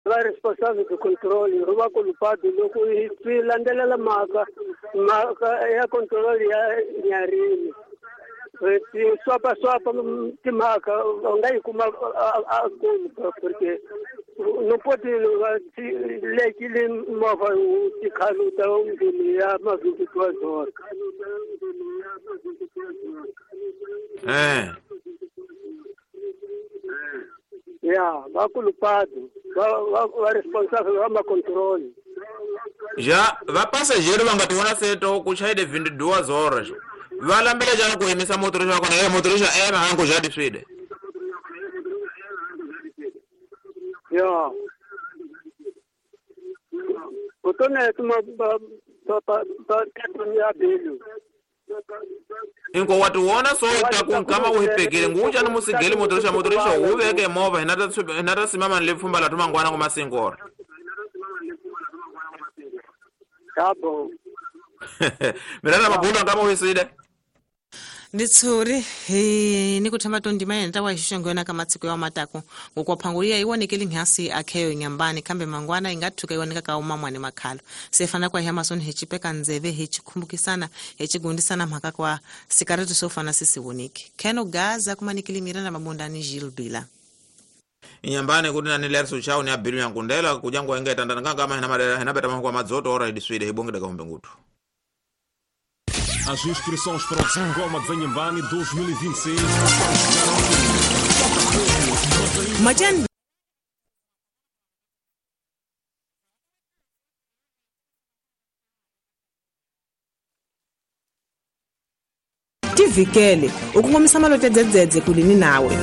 Va responsable de control ro va kulupado loko hi swi landzelela mhaka mhaka ya control ya Nyarini ti swapa swapa timhaka u nga yi kuma a kulu porque não pode lekile movha wu tikhaluta ndlwini ya ma 22 horas. Ya va kulupado va responsable va ma control. Já va passageiro va nga ti vona seto ku chayile 22 horas. Va lambela jana ku yimisa motorista wa kona motorista ema hangu já diswide. Ya. Kutone tuma ba ba ba ya belu. Inko watu wona so ta ku kama uhipekele nguja ni musigeli motorista motorista uveke movha hinata simama ni lipfumba la tumangwana ngoma singora. Yabo. Mirana mabunda kama uhiside. Nditsuri he ni kuthamba tondima yena wa xixongo yona ka matsiko ya matako ngokwaphanguriya iwonekele nghasi akheyo nyambani kambe mangwana ingathuka iwoneka ka umamwane makhalo sefana kwa Amazon hechipeka nzeve hechikhumbukisana hechigundisana mhaka kwa sikareti sofana sisiwoneke Keno Gaza kumanikili Miranda Mabunda ni Gilbila inyambani kuti nani lerso chao ni abilu yankundela kujangwa engeta ndanga kama hina madera hina beta kwa madzoto ora idiswide hibongeda ka mbengutu. As inscrições para o Zangoma de Inhambane 2026. Majan tivikele ukungomisa malote dzedzedze kulini nawe.